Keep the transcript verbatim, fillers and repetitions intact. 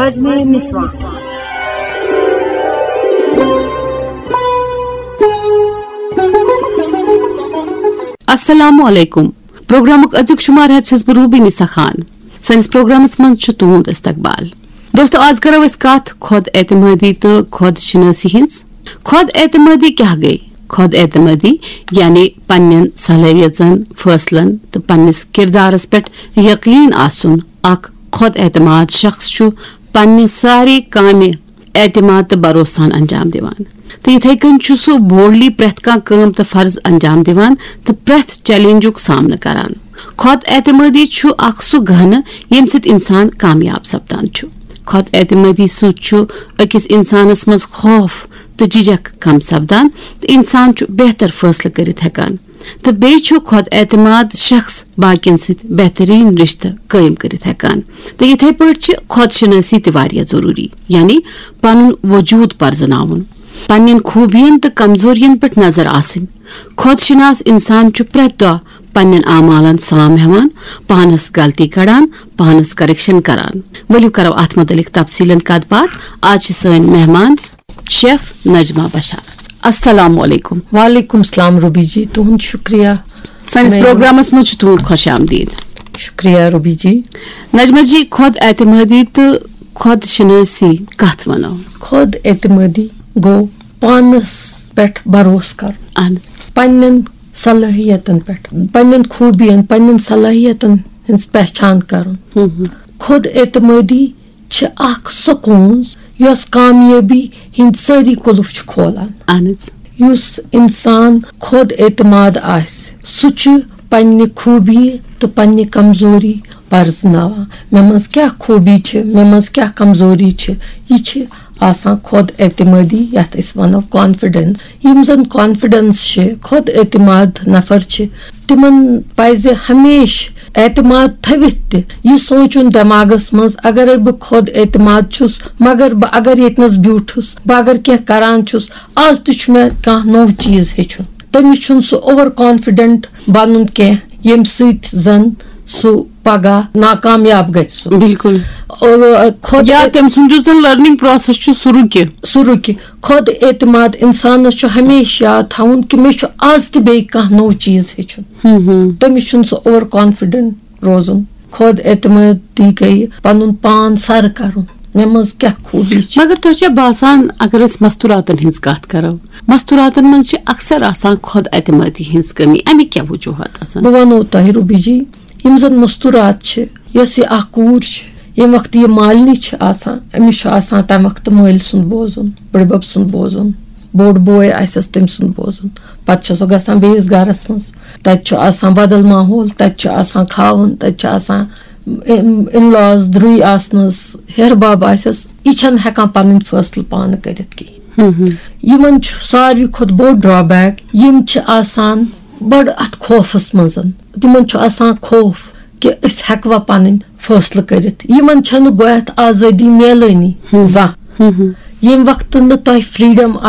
بزمِ نسواں۔ السلام علیکم۔ پروگرامُک أزیُک شمار ہٮ۪تھ چھَس بہٕ روبی نسا خان۔ سٲنِس پروگرامس منٛز چھُ تُہُنٛد استقبال۔ دوستو، آز کرو أسۍ کتھ خۄد اعتمٲدی تہٕ خۄد شنٲسی ہٕنٛز۔ خۄد اعتمٲدی کیٛاہ گٔے؟ خۄد اعتمٲدی یعنی پننٮ۪ن صلٲحیژن، فٲصلن تہٕ پننِس کردارس پٮ۪ٹھ یقین آسُن۔ اکھ خۄد اعتماد شخص چھُ پننہِ سارے کامہِ اعتماد تہٕ بھروسہٕ سان انجام دِوان، تہٕ یِتھے کٔنۍ چھُ سُہ بولڈلی پرٛٮ۪تھ کانٛہہ کٲم تہٕ فرض انجام دِوان تہٕ پرٛٮ۪تھ چیلنجُک سامنہٕ کران۔ خۄد اعتمٲدی چھُ اکھ سُہ گہنہٕ ییٚمہِ سۭتۍ انسان کامیاب سپدان چھُ۔ خۄد اعتمٲدی سۭتۍ چھُ أکِس انسانس منٛز خوف تہٕ جھجک کم سپدان تہٕ انسان چھُ بہتر فٲصلہٕ کٔرِتھ ہٮ۪کان۔ تہٕ بیٚیہِ چھُ خۄد اعتماد شخص باقین سۭتۍ بہتریٖن رشتہٕ قٲیِم کٔرِتھ ہٮ۪کان۔ تہٕ یِتھے پٲٹھۍ چھِ خۄد شنٲسی تہِ واریاہ ضروٗری، یعنی پنُن وجوٗد پرزناوُن، پننٮ۪ن خوٗبین تہٕ کمزورین پٮ۪ٹھ نظر آسٕنۍ۔ خۄد شناس انسان چھُ پرٛٮ۪تھ دۄہ پننٮ۪ن اعمالن سام ہٮ۪وان، پانس غلطی کڑان، پانس کریکشن کران۔ ؤلِو کرو اتھ متعلق تفصیلن کتھ باتھ۔ آز چھِ سٲنۍ مہمان شیف نجمہ بشار۔ السلام علیکم۔ وعلیکم السلام روبی جی، تُہُنٛد شُکریہ۔ سٲنِس مےٚ- پروگرامس منٛز چھُ تُہُنٛد خۄش آمدید۔ شُکریہ روبی جی۔ نجمہ جی، خۄد اعتمٲدی تہٕ خۄد شنٲسی کتھ ونو؟ خۄد اعتمٲدی گوٚو پانس پٮ۪ٹھ بھروسہٕ کرُن، اہن حظ۔ پننٮ۪ن صلٲحیتن پٮ۪ٹھ، پننٮ۪ن خوٗبین، پننٮ۪ن صلٲحیتن ہٕنٛز پہچان کرُن۔ ہم ہم۔ خۄد اعتمٲدی چھِ اکھ سۄ کونٛز یۄس کامیٲبی ہٕنٛدۍ سٲری قُلف چھِ کھولان۔ اہن حظ۔ یُس انسان خۄد اعتماد آسہِ، سُہ چھُ پننہِ خوٗبی تہٕ پننہِ کمزوری پرزناوان۔ مےٚ منٛز کیٛاہ خوٗبی چھِ، مےٚ منٛز کیٛاہ کمزوری چھِ، یہِ چھِ آسان خۄد اعتمٲدی، یتھ أسۍ ونو کانفیڈنس۔ یِم زن کانفیڈنس چھِ، خۄد اعتماد نفر چھِ، تِمن پزِ ہمیشہِ اعتماد تھٲوِتھ تہِ یہِ سونٛچُن دٮ۪ماغس منٛز، اگرے بہٕ خۄد اعتماد چھُس، مگر بہٕ اگر ییٚتنس بیوٗٹھُس، بہٕ اگر کینٛہہ کران چھُس، از تہِ چھُ مےٚ کانٛہہ نوٚو چیٖز ہیٚچھُن۔ تٔمِس چھُنہٕ سُہ اوور کانفیڈنٹ بنُن کینٛہہ، ییٚمہِ سۭتۍ زن سُہ پگاہ ناکامیاب گژھِ سُہ۔ بالکل۔ اور خۄد یا تٔمۍ سُنٛد یُس زن لرننگ پروسیس چھُ، سُہ رُکہِ۔ سُہ رُکہِ۔ خۄد اعتماد انسانس چھُ ہمیشہِ یاد تھاوُن کہِ مےٚ چھُ از تہِ بیٚیہِ کانٛہہ نوٚو چیٖز ہیٚچھُن۔ ہم ہم۔ تٔمِس چھُنہٕ سُہ اوور کانفیڈنٹ روزُن۔ خۄد اعتمٲدی گٔیہِ پنُن پان سر کرُن، مےٚ منٛز کیٛاہ خوٗبی چھِ۔ مگر تۄہہِ چھا باسان، اگر أسۍ مستوراتن ہٕنٛز کتھ کرو، مستوراتن منٛز چھِ اکثر آسان خۄد اعتمٲدی ہٕنٛز کٔمی، امیِکۍ کیٛاہ وجوہات آسان؟ بہٕ ونو تۄہہِ روبی جی، یِم زن مستورات چھِ، یۄس یہِ اکھ کوٗر چھِ، ییٚمہِ وقتہٕ یہِ مالنہِ چھِ آسان، أمِس چھُ آسان تمہِ وقتہٕ مٲلۍ سُنٛد بوزُن، بٕڈبب سُنٛد بوزُن، بوٚڑ بوے آسٮ۪س تٔمۍ سُنٛد بوزُن۔ پتہٕ چھُ سُہ گژھان بیٚیِس گرس منٛز، تتہِ چھُ آسان بدل ماحول، تتہِ چھُ آسان کھاوُن، تتہِ چھُ آسان ان لاز درٕے آسنس، ہیہر بب آسٮ۪س، یہِ چھنہٕ ہٮ۪کان پنٕنۍ فٲصلہٕ پانہٕ کٔرِتھ کِہینۍ۔ یِمن چھُ ساروی کھۄتہٕ بوٚڑ ڈرابیک، یِم چھِ آسان بڑٕ اتھ خوفس منٛز۔ تِمن چھُ آسان خوف کہِ أسۍ ہٮ۪کوا پنٕنۍ فٲصلہٕ کٔرِتھ، یِمن چھنہٕ گۄڈٕنٮ۪تھ آزٲدی میلٲنی زانٛہہ۔ ییٚمہِ وقتہٕ نہٕ تۄہہِ فریڈم آسہِ،